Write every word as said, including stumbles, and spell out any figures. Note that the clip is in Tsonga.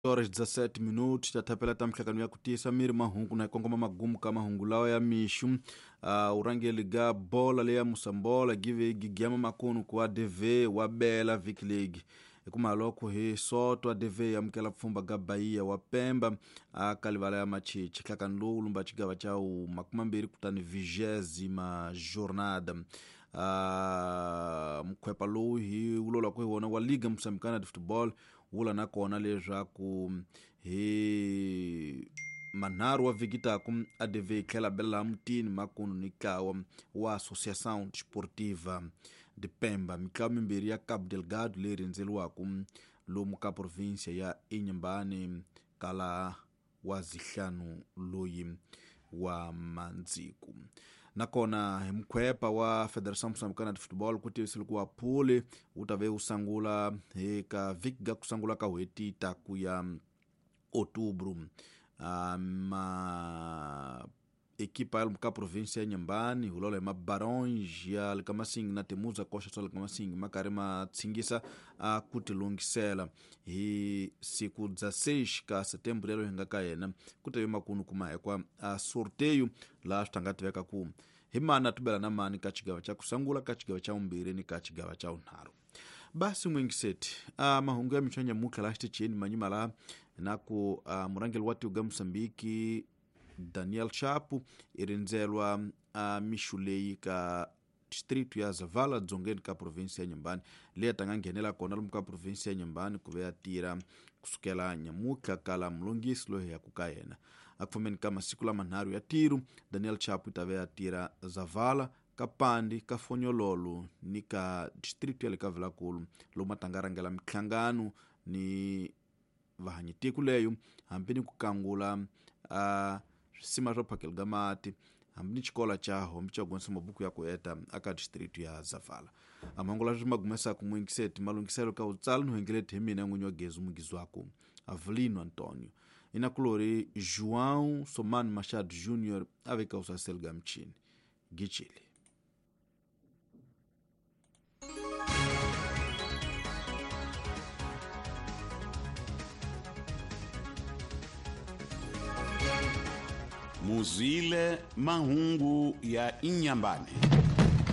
Horas dezassete minutos tatapela ta mihlangano ya ku tiyisa miri mahungu na kongoma magumu ka mahungu lawa ya mixu. Uh, urangeli ga bola leya Moçambola give gigiama makunu ku A D V wa bela Vic League ekumaloko hi soto A D V amukela pfhumba ga Bahia wa Pemba a kalivala ya Machichi hlakani lowu lumba xigava xa wu makumi mambirhi kutani vigésima jornada. Uh, mkhwepa lowu hi wulolaka hi wona wa Liga Moçambicana de Futebol wula na kona leswaku hi manharhu wa vhiki taku A D V yi tlhela bela mutini makunu ni ntlawa wa Associação Desportiva de Pemba mitlawa mimbirhi ya Cabo Delgado leyi rhendzeriwaka lomu ka provinsia ya Inhambane kala wa zihlanu loyi wa Mandziku. Nakona hi mkhwepa wa Federação Moçambicana de Futebol ku tivisile ku wa phuli wu ta ve wu sungula hi ka vhiki ga ku sungula ka n'hweti ta ku ya outubro. Uh, ma ekipa ya ka provinsia ya Inhambane hulola hi mabarões ya le ka Masingi na Temuza Costa swa le ka Masingi ma karhi ma tshingisa a ku tilunghisela hi siku dezesseis ka setembro lero hi nga ka yena ku ta ve makunu kuma hekwa a sorteio laha swi ta nga tiveka ku hi mani a tubela na mani ka xigava xa ku sungula ka xigava xa vumbirhi ni ka xigava xa vunharhu. Basi mwingiseti a mahungu ya mixo nyamutlha laha xitichini manyima laha na ku murangeli wa tiko ga Moçambique Daniel Chapo i rindzelwa a mixu leyi ka distrito ya Zavala dzongeni ka provinsia ya Inhambane leyi a ta nga nghenela kona lomu ka provinsia ya Inhambane ku ve ya tirha kusukela nyamutlha kala mulongisi loyi ya ku ka yena a ku fambeni ka masiku lamanharhu ya tiro Daniel Chapo i ta ve ya tirha Zavala ka Pandi ka Fonyololo ni ka distrito ya le ka Vilankulu lomu a ta nga rhangela minhlangano ni vahanyitiko leyo hambi ni ku kangula a swisima swa phakelo ga mati hambi ni xikolo xa hombi xa gonisa mabuku ya ku heta aka distrito ya Zavala. Amangula swi magumesaka mwingiseti malunghiselo ka utsala ni hengeleti hi mina n'winyi wa gezi mugizwaku Avelino Antonio inakulori João Somani Machado Júnior aveka usasel ga mchini gichili. Muzile mahungu ya Inhambane.